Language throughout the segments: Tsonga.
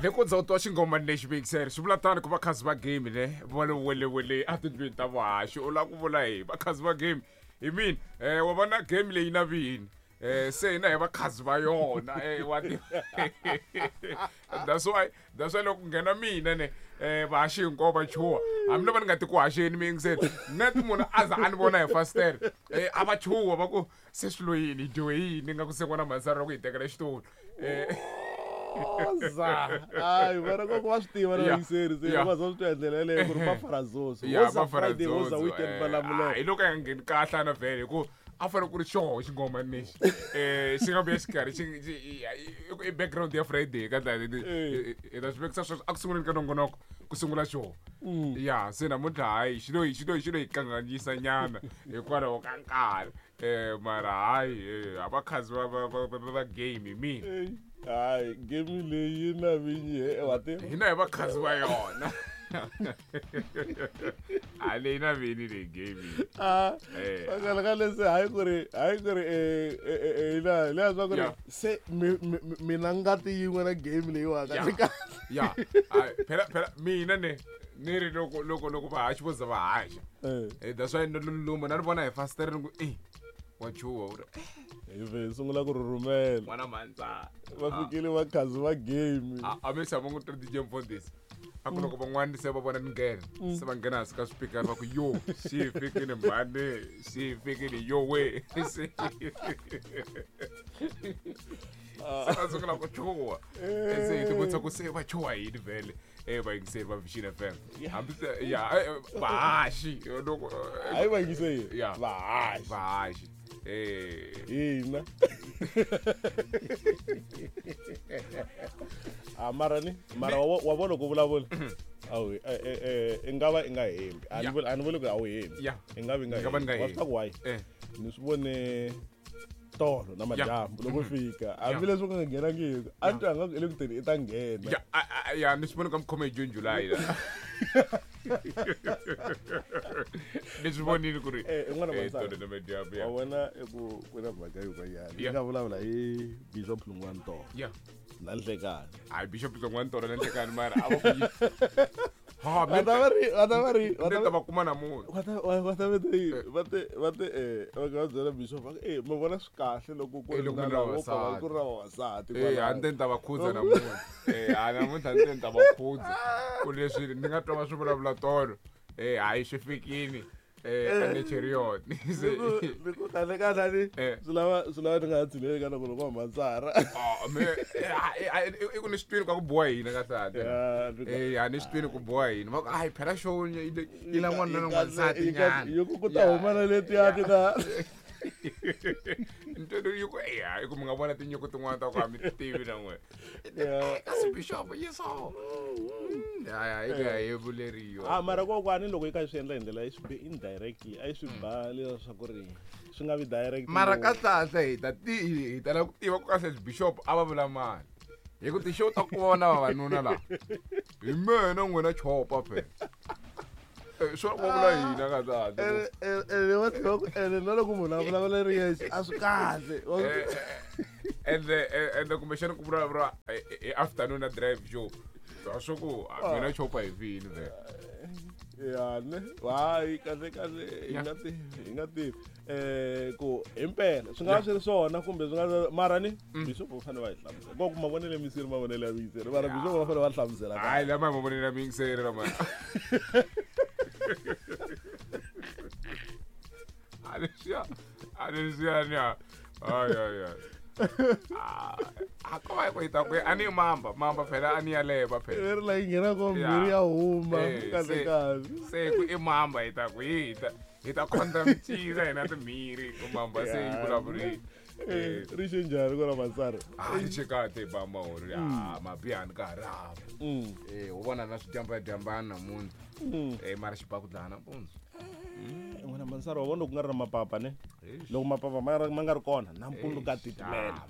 Loko za u twa xinghomani lexi vekisere swi vula tani ku vakhazi va game ne va le welewele a tindlwini ta vuhaxi u lava ku vula hi vakhazi va game hi mina wa vona game leyi na vini se hina hi vakhazi va yona wa that's why loko ku nghena mina ne vahaxi hinkwavo va chuha hambi loko ni nga ti ku haxeni mi yingiseni net munhu a za a ni vona hi fastere a va chuha va ku se swilo yini hi dyiwe yini nga ku se n'wana mhansana ku hi tekela xitulu Oza. Hayi vona koko va swi tiva na vayingiseri se va za swi twa hi ndlela yeleyo ku ri mafarazozo. Woza Friday woza weekend va lamulela. Hi loko ya nga ngheni kahle ana vhele hi ku a fanele ku ri xoho xingomani lexi xi nga vuya xikarhi i background ya Friday ka ndlela hi ta swi vekisa sweswo a ku sunguleni ka nongonoko ku sungula xoho. Ya se namuntlha hayi xi lo xi lo xi lo hi kanganyisa nyana hikwalaho ka nkarhi. Mara hayi a vakhazi va va va va va game hi mina. Hayi game leyi yi na vinyi he wa tiva. Hina hi vakhazi va yona. A leyi na vini leyi game. Ah, kahle kahle se hayi ku ri hayi ku ri ina leya swa ku ri se mina ngati yin'we na game leyiwa kahle kahle. Ya. Phela phela mina ne ni ri loko loko loko vahaxi vo za va haxa. That's why ni luma na ri vona hi fastere ni ku eh wa chuha u ri hi ve sungula ku rhurhumela. N'wana mhandzana. Va fikile vakhazi va game. A mi tshama n'wi twa DJ Mfundhisi. A ku loko van'wana se va vona ni nghena se va nghena hansi ka swipikara va ku yo xi fikile mhani xi fikile yo we se va sungula ku chuha se hi tivutisa ku se va chuha yini vhele vayingiseri va Vision FM hambi se ya vahaxi loko hayi vayingiseri ya vahaxi vahaxi hina a mara ni mara wa vona ku vulavula awu i nga va i nga hembi a ni vuli a ni vuli ku a wu hembi i nga vi nga hembi wa swi ku why ni swi vone tolo na madyambu loko fika hambileswi ku nga nghenangiki a ni twa nga ku i le ku teni i ta nghena ya ni swi vone ka mukhome hi June July ni swi vonile ku ri n'wana tolo na madyambu wa vona i ku ku na mhaka yin'wanyana yi nga vulavula hi Bishop Hlungwani tolo na nhlekani hayi Bishop Hlungwani tolo na nhlekani mara a va ku ha va ta va ri va ta va ri va ta va kuma namuntlha va ta va ta va te va te va te va nga byela bishop va eh mi vona swi kahle loko ku ri na lava ku ri na vavasati a ni te ni ta va khudza namuntlha a namuntlha ni te ni ta va khudza ku leswi ni nga twa va swi vulavula tolo hayi swi fikini anecherion ni ku kahle kahle ni swi lava swi lava ni nga ha tshuneli ka loko loko hamansara i ku ni swi twini ka ku boha hina kahle kahle a ni swi twini ku boha hina va ku hayi phela show yi la n'wanuna na n'wansati nyana yi ku ku ta huma na letiya ti ta ntwelo yi ku eya i ku mi nga vona tinyiko tin'wana ta ku a mi tivi na n'wina kasi bishop yi so ya yi ya yi vuleriwa a mara kokwani loko yi kha yi swi endla hi ndlela yi swi be indirectly a yi swi ba leswaku ri swi nga vi direct mara kahlekahle hi ta ti hi tala ku tiva ku kahle bishop a va vula mani hi ku ti-show ta ku vona vavanuna laha hi mina n'wina chopa phela swo va vula hina kahlekahle ene va tlhela ku ene na loko munhu a vulavula ri yexe a swi kahle ende ende kumbexana ku vulavula hi afternoon na drive show swa ku mina chopa hi vini vhele ya ne hayi kahle kahle hi nga tivi hi nga tivi ku himpela swi nga va swi ri swona kumbe swi nga mara ni bishop va fanele va hi hlamusela ko ku mavonelo ya miyingiseri mavonelo ya miyingiseri mara bishop va fanele va hlamusela hayi lama mavonelo ya miyingiseri lama a leswiya a leswiya ni hayi hayi hayi a ko va ku ta ku a ni mamba mamba phela a ni ya leva phela leri la yi nghena ko mbirhi ya huma kahle kahle se ku i mamba hi ta ku hi ta hi ta khondza micira hina timhiri ku mamba se yi vulavuri ri xe njhani ku ra matsari a ri xe kahle bamba uri a mabihani ka ha ri hava u vona na swidyambadyambani namuntlha mara xibakudlana nampundzu n'wina mansari wa vona loko ku nga ri na mapapa ne loko mapapa ma nga ri kona nampundzu ka titimela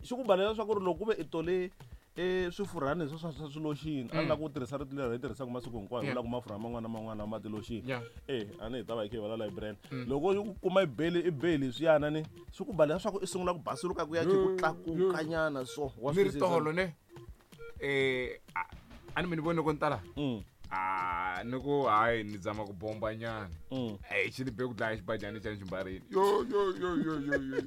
xi ku balela swa ku ri loko ku ve i tole E swifurhani leswi swa swiloxini a ni lava ku tirhisa rito leri hi tirhisaka masiku hinkwayo vula ku mafurha man'wana na man'wana ma tiloxini. E a ni hi ta va hi kha hi vulavula hi brand. Loko u kuma i beli i beli leswiyana ni swi ku ba leswaku i sungula ku basuluka ku ya khe ku tlakuka nyana so wa ni ri tolo ne? A ni mi ni vone loko ni tala a ni ku hayi ni zama ku bomba nyana. E xi ni be ku dlaya xibajani xa ximbarini. Yo yo yo yo yo yo.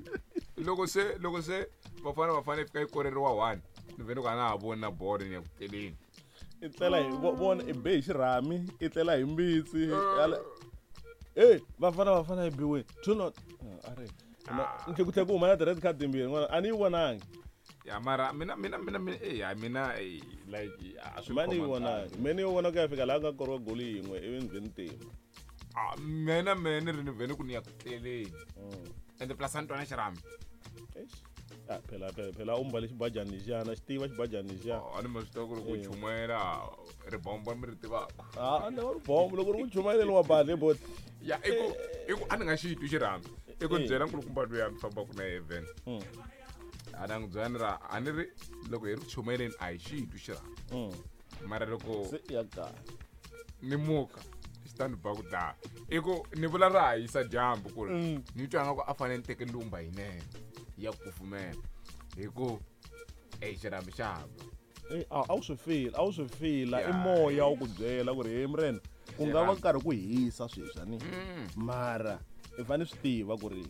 Loko se Bafana Bafana yi fika yi koreriwa 1, ni vhe ni ku a na ha voni na bolo, ni ya ku tleleni. I tlela hi vona i be hi xirhami, i tlela hi mbitsi. E Bafana Bafana yi biweni two not a ri ni ku tlhe ku huma na ti-red card timbirhi n'wana a ni yi vonangi. Ya, mara mina ya mina like a swi Ma ni yi vonangi, me ni yi vona ku ya fika laha ku nga koriwa goli yin'we ivi ni vhe ni tima. Ah, mina ni ri ni vhe ni ku ni ya ku tleleni, ende plus a ni twa na xirhami. Eish. Ah, phela u mbale xibajani lexiyana, xi tiva xibajani lexiya. A ni ma swi tiva ku loko u chumayela ribombo mi ri tivaka. A ni ribombo loko ri ku chumayeleni wa bale bot. Ya, i ku a ni nga xi twi xirhami, i ku ni byela nkulukumba loyi a ni fambaka na yena, a na n'wi byela ni ra a ni ri loko hi ri ku chumayeleni a hi xi twi xirhami, mara loko se ya kaya ni muka xi ta ni ba ku dlaya. I ku ni vula ra ha yisa dyambu ku ri ni twa nga ku a fanele ni teke lumba yinene ya ku kufumela hi ku e xirhami xa ba. Eh, a wu swi fila, a wu swi fila i moya wu ku byela ku ri he murena ku nga va karhi ku hisa sweswi ani, mara i fanele swi tiva ku ri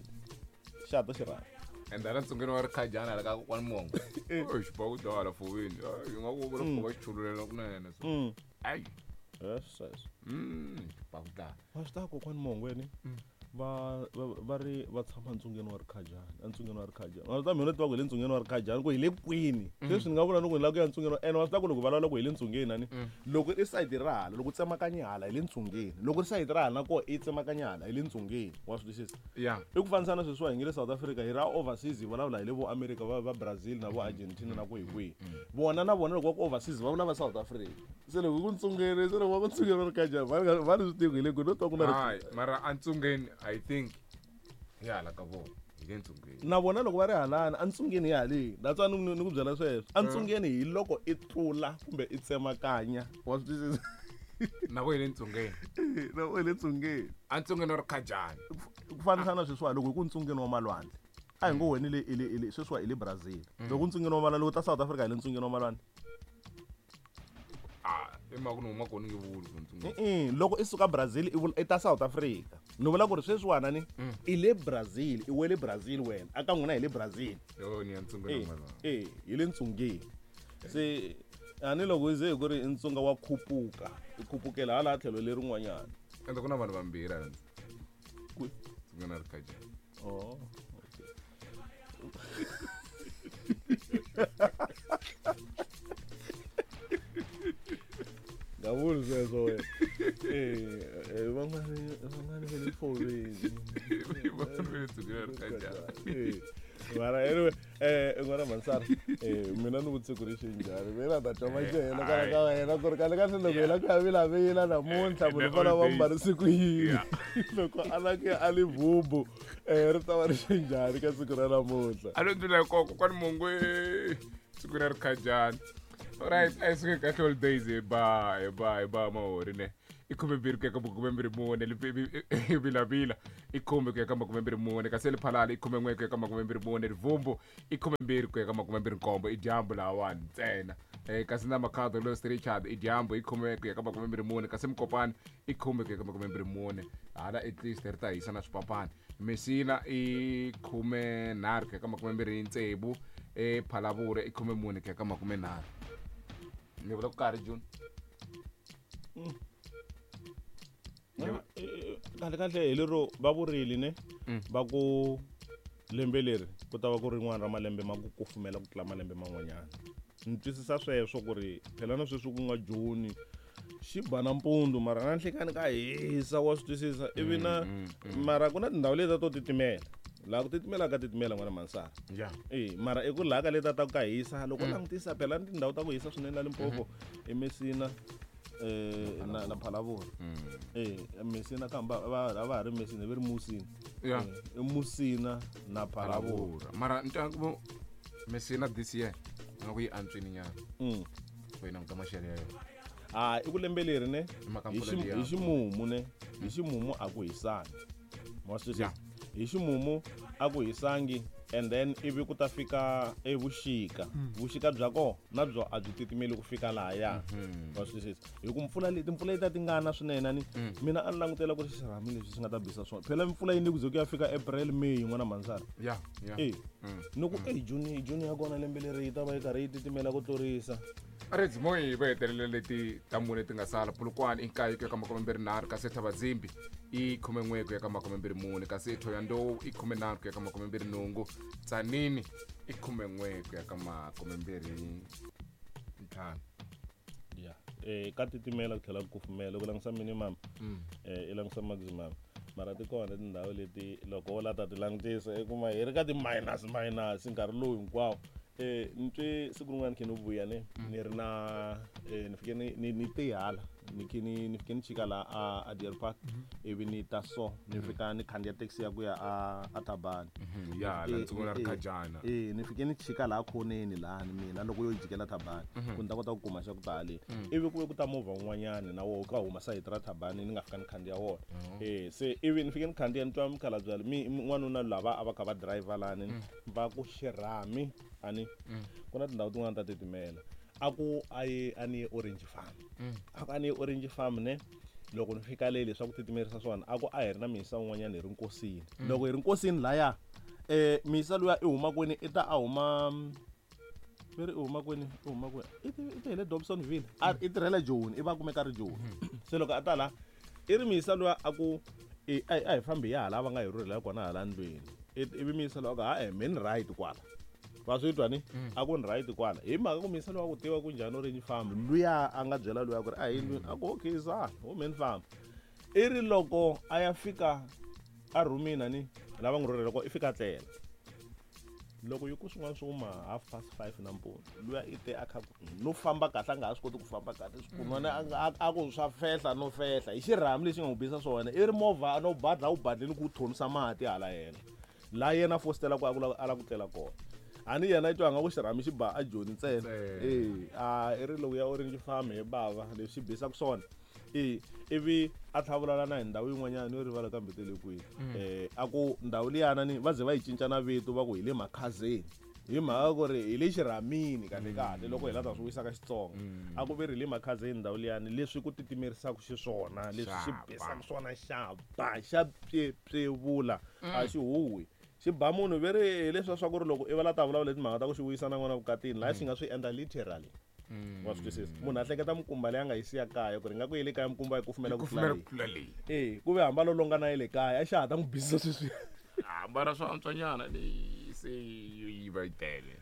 xa ta xirhami. Ende hala ntsungeni wa rikhajana hala ka kokwani Mongo, ey, xi ba ku dlaya hala fowini yi nga ku vula va xi chululela kunene so. Ayi. Yes. Xi ba ku dlaya. Wa swi tiva kokwani Mongweni va ri va tshama ntsungeni wa rikhajani, entsungeni wa rikhajani. Wa swi tiva mina tiva ku hi le ntsungeni wa rikhajani ku hi le kwini. Sweswi ni nga vula ni ku ni lava ku ya ntsungeni ene wa swi tiva ku loko vulavula ku hi le ntsungeni ani, loko i sayiti ra hala loko u tsemakanya hala hi le ntsungeni, loko ri sayiti ra hala na koho i tsemakanya hala hi le ntsungeni, wa swi twisisa? Ya. I ku fanisa na sweswiwa hi nge le South Africa hi ra overseas, hi vulavula hi le vo America, va Brazil na vo Argentina na kwihi kwihi. Vona na vona loko va ku overseas va vula va South Africa. Se loko ku ntsungeni, se loko va ku ntsungeni wa rikhajani va ni swi tivi ku hi le kwini, no twa ku na hayi, mara antsungeni I think hi hala ka vona hi le ntsungeni. Na vona loko va ri halani antsungeni hi haleni, that's why ni ku byela sweswo. Antsungeni hi loko i tlula kumbe i tsemakanya, wa swi twisisa? Na vo hi le ntsungeni. Na vo hi le ntsungeni. Antsungeni wa rikhajani. Ku fanisa na sweswiwa loko hi ku ntsungeni wa malwandle, a hi ngo wena i le sweswiwa i le Brazil, loko ntsungeni wa malwandle, loko ta South Africa hi le ntsungeni wa malwandle. Ah, i mhaka ku ni huma kona nge vuli ku ntsungeni. I loko i suka Brazil i vula i ta South Africa, ni vula ku ri sweswiwana ni i le Brazil, i wele Brazil wena, a ka n'wina hi le Brazil. Yo, ni ya ntsungeni wa malwandle. E hi le ntsungeni. Se a ni loko i ze hi ku ri i ntsunga wa khupuka, i khupukela hala tlhelo lerin'wanyana. Ende ku na vanhu vambirhi hala Kwi? ntsungeni wa rikhajani. Oh, okay. Nga vuli sweswo wena. Van'wani va le foveni. Van'wani va le ntsungeni wa rikhajani. Mara anyway, n'wana Mansara, mina ni vutise ku ri xi njhani, mina ta twa maxelo kwala ka wena ku ri kahle kahle loko hi la ku ya vilavila namuntlha munhu fana va mbarisi ku yini, loko a la ku ya a Limpopo ri ta va ri xi njhani ka siku ra namuntlha? A lo ndlula hi koko kwani Mongwe siku ra rikhajani. Alright, a hi suke kahle holidays, hi ba mahori ne i 12 ku ya ka 24, Vilavila i 10 ku ya ka 24, kasi Lephalale i 11 ku ya ka 24, Rivumbu i 12 ku ya ka 27, i dyambu lahawani ntsena. Kasi na Makhado Los Richard i dyambu, i 10 ku ya ka 24, kasi Mukopani i 10 ku ya ka 24, hala at least ri ta hisa na swipapani. Mesina i 13 ku ya ka 26, ePhalavura i 14 ku ya ka 30. Ni vula ku karhi June. Kahle kahle hi lero va vurile ne, va ku lembe leri ku ta va ku rin'wana ra malembe ma ku kufumela ku tlula malembe man'wanyana. Ni twisisa sweswo ku ri phela na sweswi ku nga Juni xi ba nampundzu, mara na nhlekani ka hisa, wa swi twisisa? Ivi na mara ku na tindhawu leti to titimela, laha ku titimela ka titimela n'wana Mansara. E mara i ku laha ka leti ta ku ka hisa, loko u langutisa phela ni tindhawu ta ku hisa swinene la Limpopo i Mesina na Phalavula. E Mesina kambe a va ha ri Mesina, va ri Musina. I Musina na Phalavula. Mara ni twa ku Mesina this year Nga ku yi antswini nyana. Ku yi languta maxelo ya yona. A i ku lembe leri ne hi ximumu ne hi ximumu a ku hisangi. Ma swi twisisa? Hi ximumu a ku hisangi and then ivi ku ta fika evuxika. Vuxika bya kona na byo a byi titimeli ku fika lahaya. Wa swi twisisa? Hi ku mpfula leti timpfula leti ti ngana swinene ni mina a ni langutela ku ri xirhami leswi swi nga ta bisa swona. Phela mpfula yi ni ku ze ku ya fika April, May n'wana Mhandzana. Ya, ya. Ni ku June, June ya kona lembe leri yi ta va yi karhi yi titimela ku tlurisa. Reds Moyi va hetelele leti ta mune ti nga sala. Polokwane i nkaye ku ya ka 23, kasi Thabazimbi i 11 ku ya ka 24, kasi Thohoyandou i 13 ku ya ka 28, Tzaneen i 11 ku ya ka 25. Ya, ka titimela ku tlhela ku kufumela. Loko u langutisa minimum, i langutisa maximum. Mara ti kona tindhawu leti loko wo la ta ti langutisa i kuma hi ri ka ti-minus minus nkarhi lowu hinkwawo. Ni twe siku rin'wana khe ni vuya ne ni ri na ni fike ni te hala ni khe ni fike ni chika la a Deer Park ivi ni ta so ni fika ni khandziya taxi ya ku ya a Thabani. Ya, la ndzi vona ri khajana. Ni fike ni chika laha khoneni laha ni mina loko yo jikela Thabani ku ni ta kota ku kuma xa ku ta haleni. Ivi ku ve ku ta movha wun'wanyani na woho ka huma sayiti ra Thabani ni nga fika ni khandziya wona. Se ivi ni fike ni khandziya ni twa mukhalabye mi n'wanuna lava a va kha va driver lani va ku xirhami ani ku na tindhawu tin'wana ta titimela. A ku a ye a ni ye Orange Farm. A ku a ni ye Orange Farm ne loko ni fika le leswaku titimerisa swona a ku a hi ri na miyisa wun'wanyana hi ri nkosini. Loko hi ri nkosini laya miyisa luya i huma kwini i ta a huma ve ri i huma kwini i huma kwini i ti hi le Dobsonville a i tirhela Joni i va kumeka ri Joni. Se loko a ta la i ri miyisa luya a ku a hi fambi hi ya hala va nga hi rhurhela kona hala ndlwini. Ivi miyisa luya a ku ha me ni right kwala. Va swi twa ni? A ku ni right kwala. Hi mhaka ku miyisa luya ku tiva ku njhani Orange Farm luya a nga byela luya ku ri a hi ndlwini a ku okay zana wo me ni famba. I ri loko a ya fika a rhumini ni lava n'wi rhurhela kona i fika tlela. Loko yi ku swin'wana swi huma 5:30 nampundzu luya i te a kha no famba kahle a nga ha swi koti ku famba kahle swikunwana a ku swa fehla no fehla hi xirhami lexi nga n'wi bisa swona i ri movha no badla wu badleni ku thonisa mati hala yena laha yena fositela ku a la ku tlela kona. A ni yena i twa nga ku xirhami xi ba a Joni ntsena. A i ri loko ya Orange Farm hi bava leswi xi bisaka swona. Ivi a tlhavulana na hi ndhawu yin'wanyana yo rivala kambe te le kwihi. A ku ndhawu liyana ni va ze va yi cinca na vito va ku hi le Makhazeni. Hi mhaka ku ri hi le xirhamini kahle kahle loko hi la ta swi wisa ka Xitsonga. A ku ve ri hi le Makhazeni ndhawu liyani leswi ku titimerisaka xiswona leswi xi bisaka swona xa ba xa pyepyevula a xi huhwi. Xi ba munhu ve ri hi leswiya swa ku ri loko i va la ta vulavula hi timhaka ta ku xi vuyisa na n'wana vukatini laha xi nga swi endla literally. Wa swi twisisa? Munhu a hleketa mikumba leyi a nga yi siya kaya ku ri nga ku yi le kaya mikumba yi kufumela ku tlula leyi. Ku ve hamba lo longa na yi le kaya a xa ha ta n'wi bisisa sweswi. Hambana swo antswanyana leyi se yi va yi tele.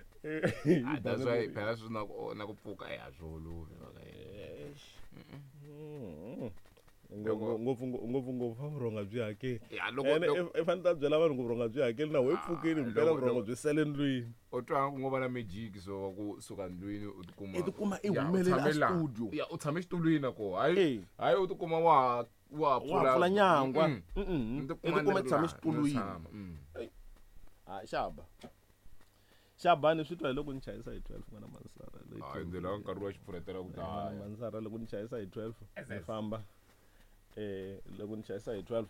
That's why phela swi na ku na ku pfuka a swi olovi. Ngopfu ngopfu ngopfu vurhonga byi hakeli. I fanele ta byela vanhu ku vurhonga byi hakeli na we pfukeni mpela vurhongo byi sele ndlwini. U twa ku ngo va na magic so wa ku suka ndlwini u tikuma i tikuma i humelela studio. Ya u tshame xitulwini na ko. Hayi hayi u tikuma wa wa pfula nyangwa. I tikuma i tshame xitulwini. Ha xaba. Xabani swi twa hi loko ni chayisa hi 12 n'wana Mansara. Hayi ndlela nkarhi wa xipfuretela ku daya. Mansara loko ni chayisa hi 12 ni famba. Loko ni chayisa hi 12.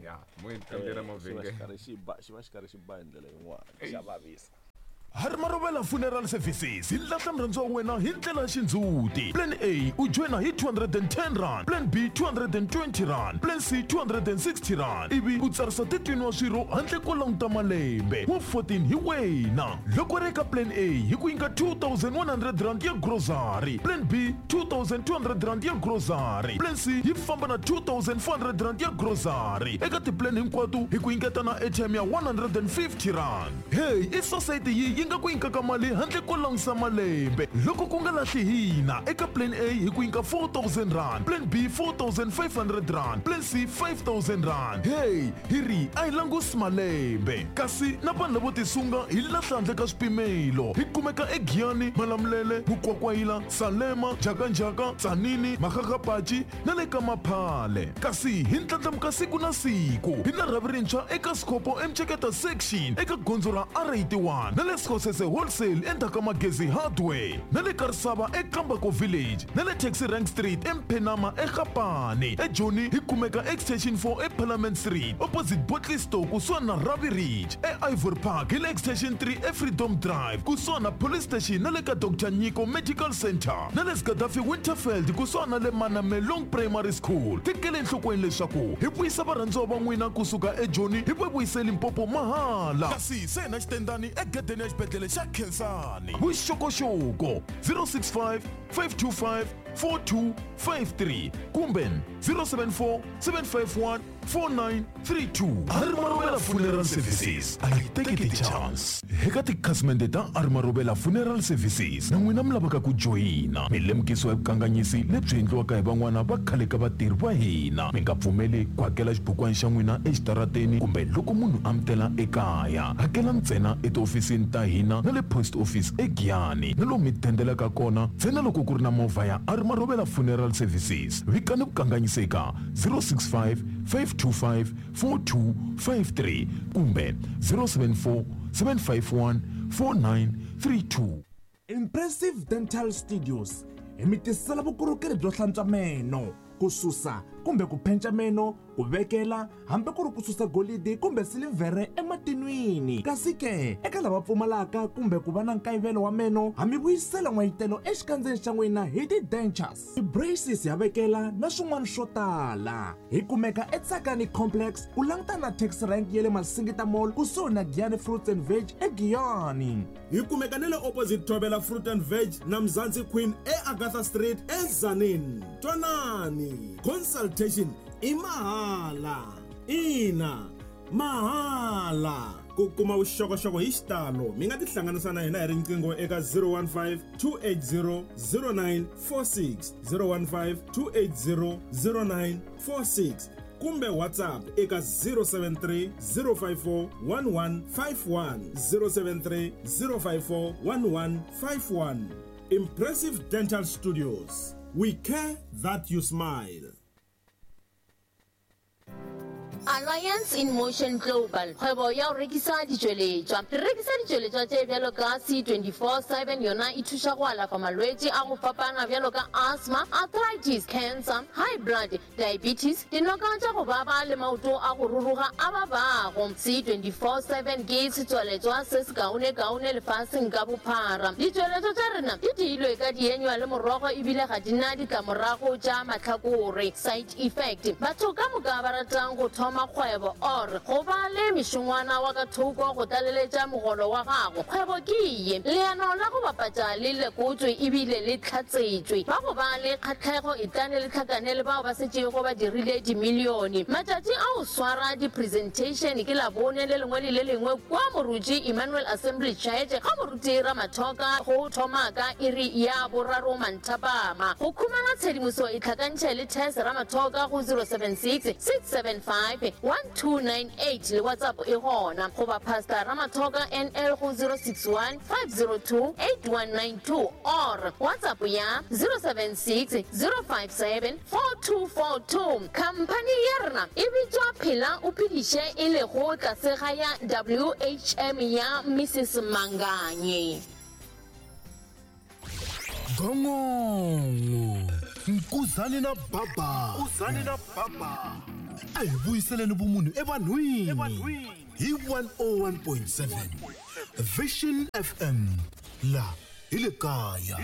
Ya, mo ni mavhenge. Xi ba xi va xi karhi xi ba hi ndlela yin'wana xa vavisa. Harimarovela Funeral Services hi lahla murhandziwa wa wena hi ndlela ya xindzhuti. Plan A u joyina hi 210 rand, Plan B 220 rand, Plan C 260 rand ivi u tsarisa 13 wa swirho handle ko languta malembe wa 14 hi wena. Loko ri eka Plan A hi ku nyika 2100 rand ya grocery, Plan B 2200 rand ya grocery, Plan C yi famba na 2400 rand ya grocery. Eka tiplan hinkwato hi ku nyiketa na airtime ya 150 rand. Hey, i society yi nga ku nyikaka mali handle ko langutisa malembe. Loko ku nga lahli hina eka Plan A hi ku nyika 4000 rand, Plan B 4500 rand, Plan C 5000 rand. Hey, hi ri a hi langusi malembe. Kasi na vanhu lavo tisunga hi lahla handle ka swipimelo. Hi kumeka eGiyani, Malamulele, Mukwakwayila, Salema, Jakanjaka, Tzaneen, Makgakgapachi na le ka Maphale. Kasi hi ndlandlamuka siku na siku. Hi na rhavi rintshwa eka Sikopo eMceketa section eka gondzo ra R81 na le eKosese Wholesale endzhaku ka Magezi Hardware, na le ka Risava eKambako Village, na le Taxi Rank Street eMphenama eGapane. EJoni hi kumeka Extension 4 eParliament Street opposite Bottle Store kusuhani na Ravi Ridge. EIvory Park hi le Extension 3 eFreedom Drive kusuhani na Police Station na le ka Dr Nyiko Medical Centre, na le Gaddafi Winterfeld kusuhani na le Manamelong Primary School. Tekela enhlokweni leswaku hi vuyisa varhandziwa va n'wina kusuka eJoni hi va vuyise Limpopo mahala. Kasi se na xitendani egedeni ya xibedhlele xa Khensani. Vuxokoxoko 065 525 4253 kumbe 074 751 4932. Arimarovela Funeral Services a yi teki ti-chance. Eka tikhasimende ta Arimarovela Funeral Services na n'wina mi lavaka ku joyina, mi lemukisiwa hi vukanganyisi lebyi endliwaka hi van'wana va khale ka vatirhi va hina. Mi nga pfumeli ku hakela xibukwana xa n'wina exitarateni kumbe loko munhu a mi tela ekaya. Hakela ntsena etihofisini ta hina na le post office eGiyani, na lomu mi dendelaka kona ntsena loko ku ri na movha ya Arimarovela Funeral Services. Vikani vukanganyisi eka 065 525 4253 kumbe 074 751 4932. Impressive Dental Studios hi mi tisela vukorhokeri byo hlantswa meno, ku susa kumbe ku phenca meno, ku vekela hambi ku ri ku susa golidi kumbe silivhere ematinwini. Kasi ke eka lava pfumalaka kumbe ku va na nkayivelo wa meno, ha mi vuyisela n'wayitelo exikandzeni xa n'wina hi ti-dentures, ti-braces ya vekela na swin'wana swo tala. Hi kumeka eTsakani Complex ku langutana na taxi rank ya le Masingita Mall kusuhi na Giyani Fruits and Veg eGiyani. Hi kumeka na le opposite Thobela Fruit and Veg na Mzansi Queen eAgatha Street eZanin. Twanani, consultation i mahala. Ina, mahala. Ku kuma vuxokoxoko hi xitalo mi nga tihlanganisa na hina hi riqingho eka 015 280 0946, 015 280 0946 kumbe WhatsApp eka 073 054 1151, 073 054 1151. Impressive Dental Studios, we care that you smile. Alliance in Motion Global, kgwebo ya go rekisa ditšweletšwa. Re rekisa ditšweletšwa tše bjalo ka C24/7, yona e thuša go alafa malwetši a go fapana bjalo ka asthma, arthritis, cancer, high blood, diabetes, dinoka tša go baba le maoto a go ruruga a babago. C24/7 ke setswaletšwa se sekaonekaone lefaseng ka bophara. Ditšweletšwa tša rena di diilwe ka dienywa le morogo ebile ga di na ditlamorago tša mahlakore, side effect. Batho ka moka ba ratang go thoma kgwebo or go ba le mešongwana wa ka thoko go tlaleletša mogolo wa gago, kgwebo ke ye. Leano la go bapatša le lekotšwe ebile le hlatsetšwe. Ba go ba le kgahlego etlane le hlakane le bao ba setšego ba dirile dimilione. Matšatši a go swara di-presentation ke Labone le lengwe le le lengwe kua Moruti Emmanuel Assembly Church ga Moruti Ramathoka go thoma ka iri ya boraro manthapama. Go khumana tshedimoso itlhakantšhe le Tess Ramathoka go 076 675 1298 le WhatsApp e gona, goba Pastor Ramathoka NL go 061 502 8192 or WhatsApp ya 076 057 4242. Khamphani ya rena e bitšwa Phela o Phediše e lego tlase ga ya WHM ya Mrs Manganye. Gongongo Nkuzani na Baba Nkuzani na Baba a hi vuyiseleni vumunhu evanhwini hi 101.7 Vision FM la hi le kaya.